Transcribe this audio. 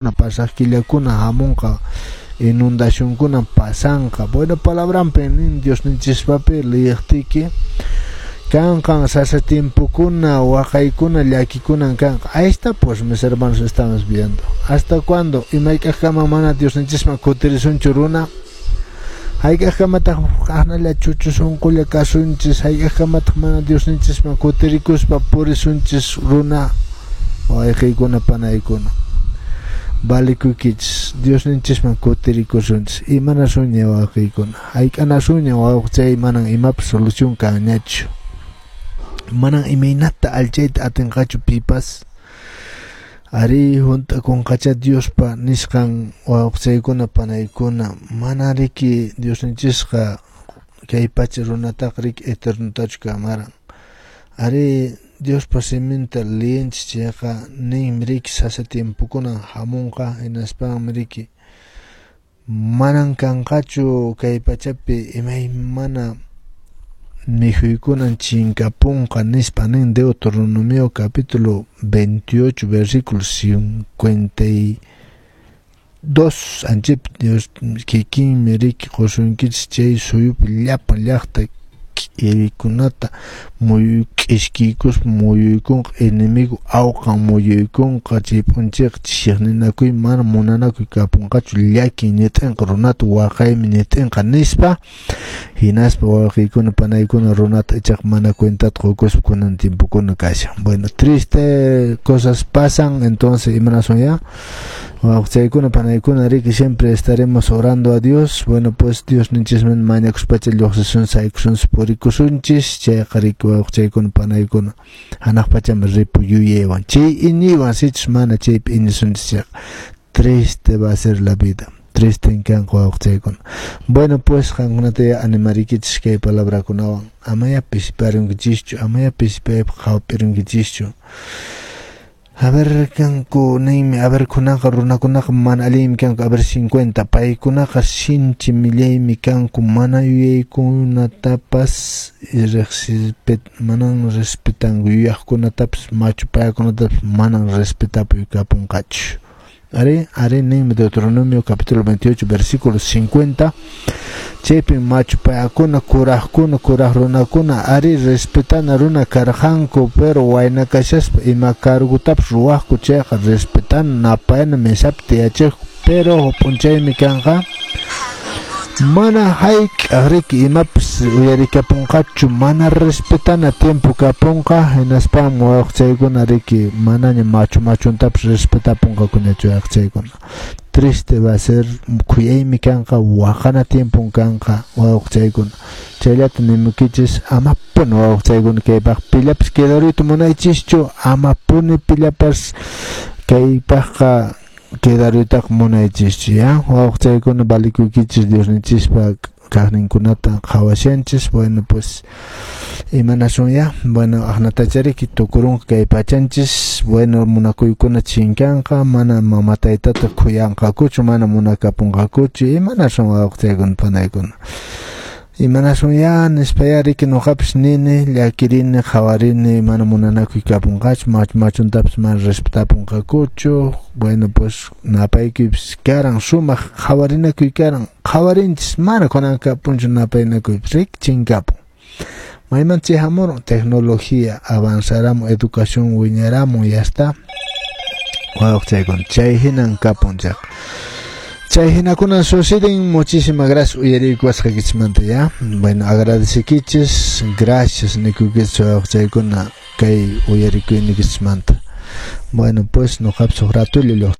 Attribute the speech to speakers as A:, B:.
A: Pasaq killakuna hamunqa, inundacionkuna pasanqa. Bueno, palabranpi nin Diosninchispapi liyiqtiki kanqan sasa tiempokuna, waqaykuna, llakikunan kanqa. Ahí está, pues, mis hermanos, estamos viendo. ¿Hasta cuándo? Imayk'aqkama mana Diosninchisman kutirisunchu runa? Hayk'aqkamataq aqnalla chuchu sunqulla kasunchis? Hayk'aqkamataq mana Diosninchisman kutirikuspa purisunchis runa? Wayqiykuna, panaykuna, valikuykichis, Diosninchisman kutirikusunchis. Imanasunña, wawqiykuna? Hayk'anasunña, wawqichay? Manan imapas solución kanñachu, manan imaynata allchayta atinqachu pipas. Ari, hunt'akunqacha Diospa nisqan, wawqichaykuna, panaykuna. Mana riki Diosninchisqa kay pacha runataqa riki eternotachu kamaran. Ari, Diospa siminta liyinchis chayqa ninmi riki sasa tiempokunan hamunqa, hinaspanmi riki manan kanqachu kay pachapi imaymana mikhuykunan chinkapunqa nispa nin Deuteronomio capítulo 28 versículo 52. Anchip Dios kikinmi riki qusunkichis chay suyupi llapan llaqta k'irikunata k'ishkiykuspa muyuykunqa, enemigo awqan muyuykunqa. Chay p'unchayqa chiqninakuy mana munanakuy kapunqachu, llakin ñit'inqa runata, waqaymi ñit'inqa nispa. Hinaspa, wawqiykuna, panaykuna, runata ichaqa mana cuentata qukuspa kunan tiempokuna kashan. Bueno, triste cosas pasan. Entonces, imanasun ya, wawqichaykuna, panaykuna? Riki siempre estaremos orando a Dios. Bueno, pues Diosninchisman mañakuspacha lluqsisun, saykusunchis, purikusunchis chayqa riki, wawqichaykuna, panaykuna, hanaq pachaman ripuy yuyaywan, chay iñiywan. Sichus mana chaypi iñisunchis chayqa, triste va a ser la vida, triste kanqa, wawqichaykuna. Bueno, pues qankunata animarikichis kay palabrakunawan. Amaya pisiparunkichischu, amaya pisipaypaq qhawap'irunkichischu. A ver, kanku ninmi, a ver, kunaqa runakunaqa mana allinmi kanku. A ver, 50, paykunaqa sinchi millaymi kanku, mana yuyaykunatapas manan respetanku, yuyaqkunatapas, machu payakunatapas manan respetapuy kapunqachu. Ari, ari ninmi Deuteronomio capítulo 28 versículo 50. Chaypim machu payakuna, kuraqkuna, kuraq runakuna, ari, respetana runa karqanku, pero wayna kashaspa ima cargotapas ruwaqku chayqa respetana, napayana, mesapi tiyachiqku. Pero p'unchaymi kanqa mana hayk'aq riki imapas uyarikapunqachu, mana respetana tiempo kapunqa. Hinaspam, wawqichaykuna, riki manaña machu machuntapas respetapunqakuñachu, wawqichaykuna. Triste va a ser, khuyaymi kanqa, waqana tiempon kanqa, wawqichaykuna. Chayllata nimukichis, amapuni, wawqichaykuna, kaypaq pillapas quedaruyta munaychischu, amapuni pillapas kaypaqqa quedaruytaqa munaychischu ya, wawqichaykuna. Valikuykichis, Diosninchispa kaqninkunata qhawashanchis. Bueno, pues imanasun ya? Bueno, aqnatachariki tukurunqa kay pachanchis. Bueno, munakuykuna chinkanqa, mana mama taytata khuyanqakuchu, mana munakapunqakuchu. Imanasun, wawqichaykuna, panaykuna? Imanasun ya nispa ya riki nuqapas nini, llakirini, qhawarini, mana munanakuy kapunqachu, machu machuntapas mana respetapunqakuchu. Bueno, pues napaykuypis karan, sumaq qhawarinakuy karan, qhawarinchis, mana kunan kapunchu napaynakuypis, riki chinkapun. Mayman chay hamurun? Tecnología avanzaramun, educación wiñaramun, ya está, wawqichaykuna. Chay hinan kapun chayqa, chay hinakuna suceden. Muchísimas gracias uyariykuwasqaykichismanta ya. Bueno, agradecikichis, gracias nikuykichis, wawqichaykuna, kay uyarikuynikichismanta. Bueno, pues nuqapas huk ratulla.